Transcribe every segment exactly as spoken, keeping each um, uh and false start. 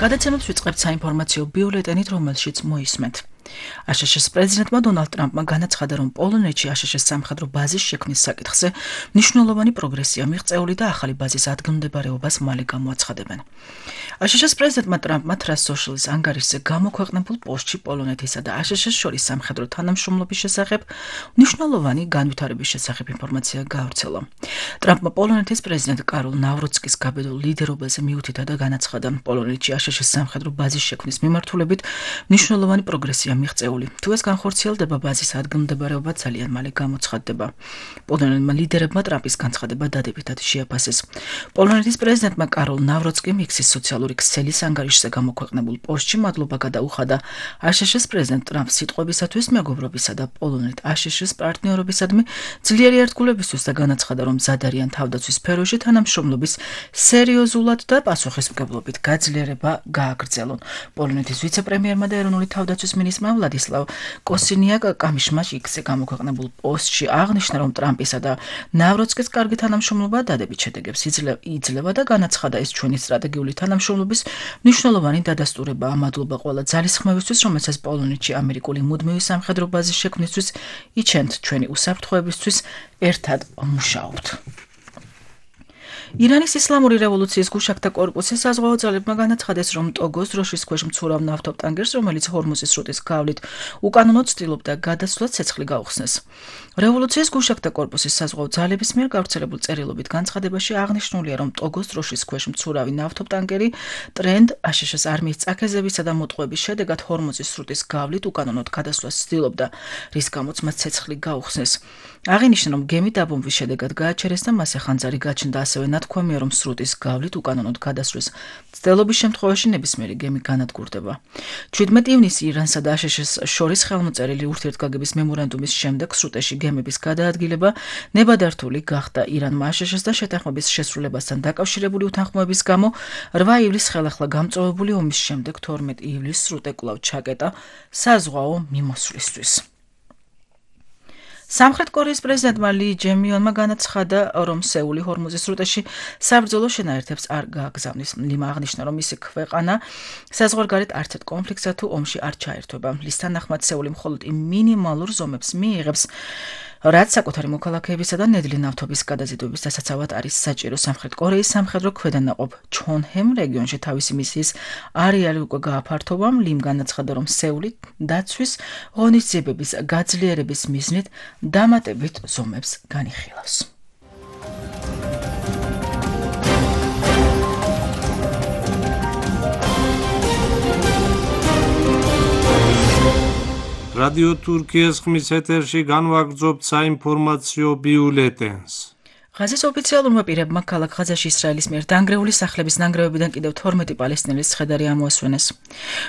გადაცემებს ვიწყებთ საინფორმაციო ბიულეტენით, რომელშიც მოისმენთ. აშშ-ის პრეზიდენტმა დონალდ ტრამპმა განაცხადა, რომ პოლონეთში აშშ-ის სამხედრო ბაზის შექმნის საკითხზე მნიშვნელოვანი პროგრესია მიღწეული და ახალი ბაზის ადგილმდებარეობას მალე გამოაცხადებენ. აშშ-ის პრეზიდენტმა ტრამპმა Truth Social-ის ანგარიშზე გამოქვეყნებულ პოსტში პოლონეთისა და აშშ-ის შორის სამხედრო თანამშრომლობის შესახებ მნიშვნელოვანი განვითარების შესახებ ინფორმაცია გაავრცელა. ტრამპმა პოლონეთის პრეზიდენტ კაროლ ნავროცკის გაბედულ ლიდერობაზე მიუთითა და განაცხადა, პოლონეთში აშშ-ის სამხედრო ბაზის შექმნის მიმართულებით მნიშვნელოვანი პროგრესია მიღწეული. თუ ეს განხორციელდება, ბაზის ადგილმდებარეობა ძალიან მალე გამოცხადდება. პოლონელმა ლიდერებმა ტრამპის განცხადება დადებითად შეაფასეს. პოლონეთის პრეზიდენტმა კაროლ ნავროცკიმ იქსის სოციალური ქსელის ანგარიშზე გამოქვეყნებულ პოსტში მადლობა გადაუხადა აშშ-ის პრეზიდენტ ტრამპს სიტყვებისათვის მეგობრობისა და პოლონეთ აშშ-ის პარტნიორობისადმი ძლიერი ერთგულებისთვის და განაცხადა, რომ მზად არიან თავდაცვის სფეროში თანამშრომლობის სერიოზულად და პასუხისმგებლობით გაძლიერება გააგრძელონ. პოლონეთის ვიცე-პრემიერმა და ეროვნული თავდაცვის მინისტრმა ვლადისლავ კოსინიაკ კამიშმა იქსზე გამოქვეყნებულ პოსტში აღნიშნა, რომ ტრამპისა და ნავროცკის კარგი თანამშრომლობა დადებით შედეგებს იძლევა და განაცხადა, ეს ჩვენი სტრატეგიული თანამშრომლობის მნიშვნელოვანი დადასტურებაა. მადლობა ყველა ძალისხმევისთვის, რომელსაც პოლონეთში ამერიკული მუდმივი სამხედრო ბაზის შექმნისთვის იჩენთ, ჩვენი უსაფრთხოებისთვის ერთად ვმუშაობთ. ირანის ისლამური რევოლუციის გუშაგთა კორპუსის საზღვაო ძალებმა განაცხადეს, რომ ტოგოს დროშის ქვეშ მცურავ ნავთობტანკერს, რომელიც ჰორმუზის სრუტის გავლით უკანონოდ ცდილობდა გადასვლას, ცეცხლი გაუხსნეს. რევოლუციის გუშაგთა კორპუსის საზღვაო ძალების მიერ გავრცელებულ წერილობით განცხადებაში აღნიშნულია, რომ ტოგოს დროშის ქვეშ მცურავი ნავთობტანკერი ტრენდ აშშ-ის არმიის წაქეზებისა და მოტყუების შედეგად ჰორმუზის სრუტის გავლით უკანონოდ გადასვლას ცდილობდა, რის გამოც მას ცეცხლი გაუხსნეს. აღინიშნა, რომ გემი დაბომბვის შედეგად გააჩერეს და მასზე ხანძარი გაჩნდა, ასევე ნათქვამია, რომ სრუტის გავლით უკანონოდ გადასვლის მცდელობის შემთხვევაში ნებისმიერი გემი განადგურდება. ჩვიდმეტ ივნისს ირანსა და აშშ-ის შორის ხელმოწერილი ურთიერთგაგების მემორანდუმის შემდეგ სრუტეში გემების გადაადგილება ნებადართული გახდა. ირანმა აშშ-ის და შეთანხმების შესრულებასთან დაკავშირებული უთანხმოების გამო რვა ივლისს ხელახლა გამწვავებული ომის შემდეგ თორმეტ ივლისს სრუტე კვლავ ჩაკეტა საზღვაო მიმოსვლისთვის. სამხრეთ კორეის პრეზიდენტმა ლი ჯემიონმა განაცხადა, რომ სეული ჰორმუზის სრუტეში საბრძოლო შენაერთებს არ გააგზავნის. ლიმ აღნიშნა, რომ მისი ქვეყანა საზღვარგარეთ არც ერთ კონფლიქტსა თუ ომში არ ჩაერთვება. ლის თანახმად სეული მხოლოდ იმ მინიმალურ ზომებს მიიღებს, რაც საკუთარი მოქალაქეებისა და ნედლი ნავთობის გადაზიდვების დასაცავად არის საჭირო. სამხრეთ კორეის სამხედრო ქვედანაყოფ ჩონჰემ რეგიონში თავისი მისიის არეალი უკვე გააფართოვა. ლიმ განაცხადა, რომ სეული დაცვის ღონისძიებების გაძლიერების მიზნით დამატებით ზომებს განიხილავს. რადიო თურქიის ხმის ეთერში განვაგრძობთ საინფორმაციო ბიულეტენს. ღაზის ოფიციალურმა პირებმა ქალაქ ღაზაში ისრაელის მიერ დანგრეული სახლების ნანგრევებიდან კიდევ თორმეტი პალესტინელის ცხედარი ამოასვენეს.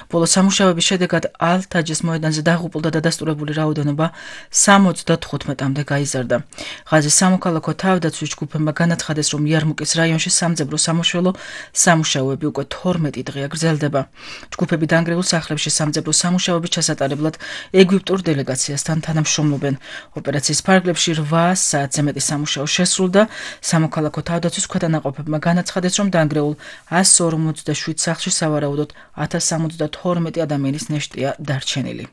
ბოლო სამუშაოების შედეგად ალ-თაჯის მოედანზე დაღუპულ და დადასტურებული რაოდენობა სამოცდათხუთმეტამდე გაიზარდა. ღაზის სამოქალაქო თავდაცვის ჯგუფებმა განაცხადეს, რომ იარმუკის რაიონში სამძებრო სამუშველო სამუშაოები უკვე თორმეტი დღეა გრძელდება. ჯგუფები დანგრეულ სახლებში სამძებრო სამუშაოების ჩასატარებლად ეგვიპტურ დელეგაციასთან თანამშრომლობენ. ოპერაციის ფარგლებში რვა საათზე მეტი სამუშაო შესრულდა. სამოქალაქო თავდაცვის ქვედანაყოფებმა განაცხადეს, რომ დანგრეულ ასს ორმოცდაშვიდ სახლში სავარაუდოდ ათას სამოცდათორმეტი ადამიანის ნეშტია დარჩენილი.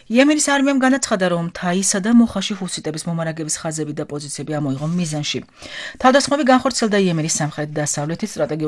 იემენის არმიამ განაცხადა, რომ თაისა და მოხაში ჰუსიტების მომარაგების ხაზები და პოზიციები ამოიღო მიზანში. თავდასხმები განხორციელდა იემენის სამხრეთ-დასავლეთის სტრატეგიული